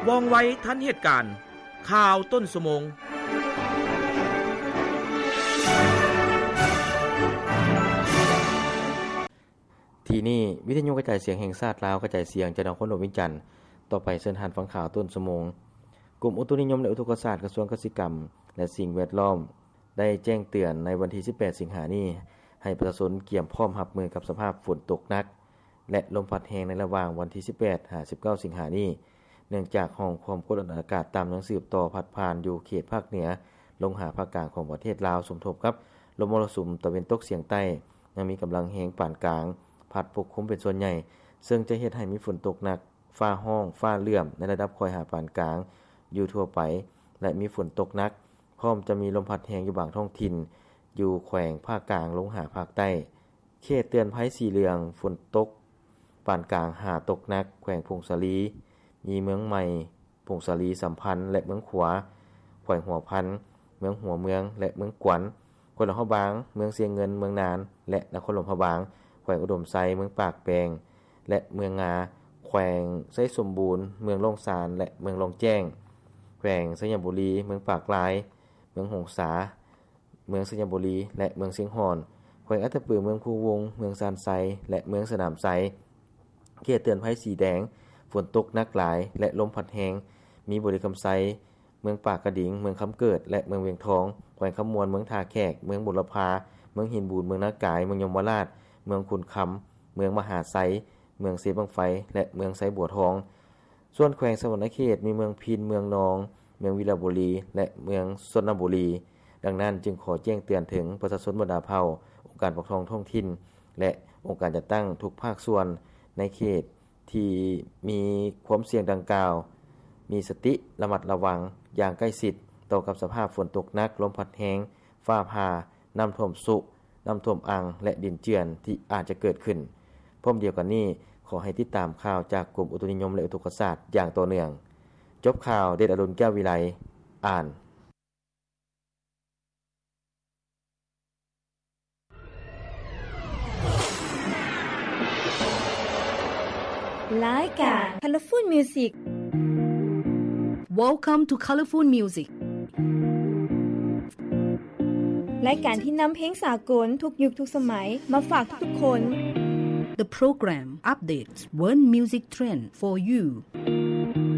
ວ່ອງໄວທັນເຫດການ. ຂ່າວຕົ້ນຊົ່ວໂມງ. ທີ່ນີ້ ວິທະຍຸກະຈາຍສຽງແຫ່ງຊາດລາວ ກະຈາຍສຽງຈາກນະຄອນຫຼວງວຽງຈັນ. ຕໍ່ໄປເຊີນທ່ານຟັງຂ່າວຕົ້ນຊົ່ວໂມງ. ກົມອຸຕຸນິຍົມ ແລະ ອຸທົກກະສາດ ກະຊວງກະສິກຳ ແລະ ສິ່ງແວດລ້ອມ ໄດ້ແຈ້ງເຕືອນໃນວັນທີສິບແປດ ສິງຫານີ້ ໃຫ້ປະຊາຊົນກຽມພ້ອມຮັບມືກັບສະພາບຝົນຕົກໜັກ ແລະ ລົມພັດແຮງໃນລະຫວ່າງວັນທີສິບແປດ ຫາ ສິບເກົ້າ ສິງຫານີ້ ເນື່ອງຈາກຮ່ອງຄວາມກົດອາກາດຕ່ຳຍັງສືບຕໍ່ພັດຜ່ານຢູ່ເຂດພາກເໜືອ ລົງຫາພາກກາງຂອງປະເທດລາວ ສົມທົບກັບລົມມໍລະສຸມຕາເວັນຕົກສຽງໃຕ້ ຍັງມີກຳລັງແຮງປານກາງ ພັດປົກຄຸມເປັນສ່ວນໃຫຍ່ ເຊິ່ງຈະເຮັດໃຫ້ມີຝົນຕົກໜັກ ຟ້າຮ້ອງ ຟ້າເຫຼື້ອມ ໃນລະດັບຄ່ອຍຫາປານກາງຢູ່ທົ່ວໄປ ແລະ ມີຝົນຕົກໜັກ ພ້ອມຈະມີລົມພັດແຮງຢູ່ບາງທ້ອງຖິ່ນ ຢູ່ແຂວງພາກກາງລົງຫາພາກໃຕ້. ເຂດເຕືອນໄພສີເຫຼືອງ ຝົນຕົກປານກາງຫາຕົກໜັກ ແຂວງຜົ້ງສາລີ ມີເມືອງໃໝ່, ຜົ້ງສາລີ, ສຳພັນ ແລະ ເມືອງຂວາ, ແຂວງຫົວພັນ, ເມືອງຫົວເມືອງ ແລະ ເມືອງກວັນ, ແຂວງຫຼວງພະບາງ, ເມືອງຊຽງເງິນ, ເມືອງນານ ແລະ ນະຄອນຫຼວງພະບາງ, ແຂວງອຸດົມໄຊ, ເມືອງປາກແບງ ແລະ ເມືອງງາ, ແຂວງໄຊສົມບູນ, ເມືອງລ້ອງຊານ ແລະ ເມືອງລ້ອງແຈ້ງ, ແຂວງໄຊຍະບູລີ, ເມືອງປາກລາຍ, ເມືອງຫົງສາ, ເມືອງໄຊຍະບູລີ ແລະ ເມືອງຊຽງຮ່ອນ, ແຂວງອັດຕະປື, ເມືອງພູວົງ, ເມືອງຊານໄຊ ແລະ ເມືອງສະໜາມໄຊ. ເຂດເຕືອນໄພສີແດງ ຝົນຕົກໜັກຫຼາຍ ແລະ ລົມພັດແຮງ ມີບໍລິຄຳໄຊ, ເມືອງປາກກະດິງ, ເມືອງຄຳເກີດ ແລະ ເມືອງວຽງທອງ, ແຂວງຄຳມ່ວນ, ເມືອງທ່າແຂກ, ເມືອງບຸນລະພາ, ເມືອງຫີນບູນ, ເມືອງນາກາຍ, ເມືອງຍົມມະລາດ, ເມືອງຂຸນຄຳ, ເມືອງມະຫາໄຊ, ເມືອງເຊບັ້ງໄຟ ແລະ ເມືອງໄຊບົວທອງ. ສ່ວນແຂວງສະຫວັນນະເຂດ ມີເມືອງພິນ, ເມືອງນອງ, ເມືອງວິລະບູລີ ແລະ ເມືອງຊົນນະບູລີ. ດັ່ງນັ້ນ, ຈຶ່ງຂໍແຈ້ງເຕືອນເຖິງປະຊາຊົນບັນດາເຜົ່າ, ອົງການປົກຄອງທ້ອງຖິ່ນ ແລະ ອົງການຈັດຕັ້ງທຸກພາກສ່ວນໃນເຂດທີ່ມີຄວາມສ່ຽງດັ່ງກ່າວ ມີສະຕິລະມັດລະວັງຢ່າງໃກ້ຊິດຕໍ່ກັບສະພາບຝົນຕົກໜັກ, ລົມພັດແຮງ, ຟ້າຜ່າ, ນ້ຳຖ້ວມຊຸ, ນ້ຳຖ້ວມອັ່ງ ແລະ ດິນເຈື່ອນທີ່ອາດຈະເກີດຂຶ້ນ. ພ້ອມດຽວກັນນີ້, ຂໍໃຫ້ຕິດຕາມຂ່າວຈາກກົມອຸຕຸນິຍົມ ແລະ ອຸທົກກະສາດຢ່າງຕໍ່ເນື່ອງ. ຈົບຂ່າວ, ເດດອະດຸນ ແກ້ວວິໄລ ອ່ານ. ລາຍການ Colorful Music. Welcome to Colorful Music. ລາຍການທີ່ນຳເພງສາກົນທຸກຍຸກທຸກສະໄໝມາຝາກທຸກໆຄົນ. The program updates world music trend for you.